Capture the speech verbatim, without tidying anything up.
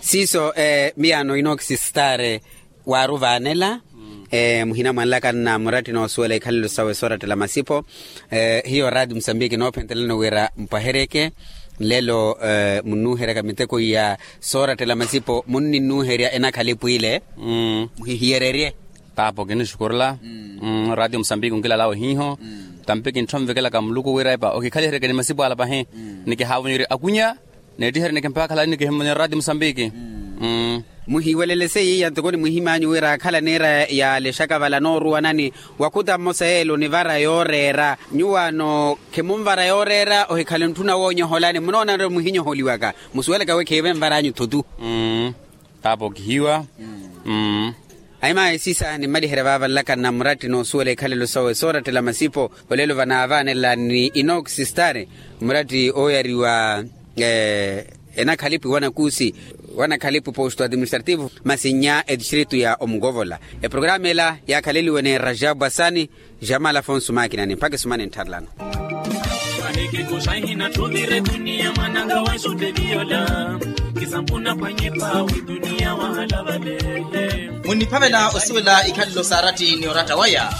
Siiso miyaano inoxi stare waaruvaanela. Muhina mwanlaka nna muratti noosuwela ikhalelo sawe soorattela masipo. Hiyo raati musambiki noophentelani wira mpwaheryeke nlelo. Munnuuheryaka miteko iya soorattela masipo munninnuuherya enakhalipwiile. Muhihiyererye. Paapo kinixukurela. Raati musambiki onkilalawe hiiho. Tampi kintthonvekelaka muluku wira epa okikhaliheryeke ni masipo ala pahi. Nikihaavonyerye akunya neettiherye nikimpaakhalani nikihimvonyerya raati musambiki. Muhiwelele seiya ntoko ni muhim'anyu wira akhala niira yaalexaka vala nooruwanani wakhuta mmosa yeela onivara yooreera. Nyuwaano khimunvara yooreera ohikhale ntthuna woonyoholani munoonanre muhinyoholiwaka. Musuwelaka wi khiive nvar'anyu thutu. Paapo kihiwa. Ahimayi siisa nimmaliherya vaava nlaka nna muratti noosuwela ikhalelo sawe soorattela masipo. Olelo vanaavaanela ni inoxi stare muratti ooyariwa enakhalipwi wanakuusi wanakhalipwi posto administrativo masi nnya etistritu ya omukovola. Eprograma ela yaakhaleliwe ni rajabu asani. Jamal afonso maakinani mpakha esumana enttharelano. Muniphavela osuwela ikhalelo saaratti ni oratta waya.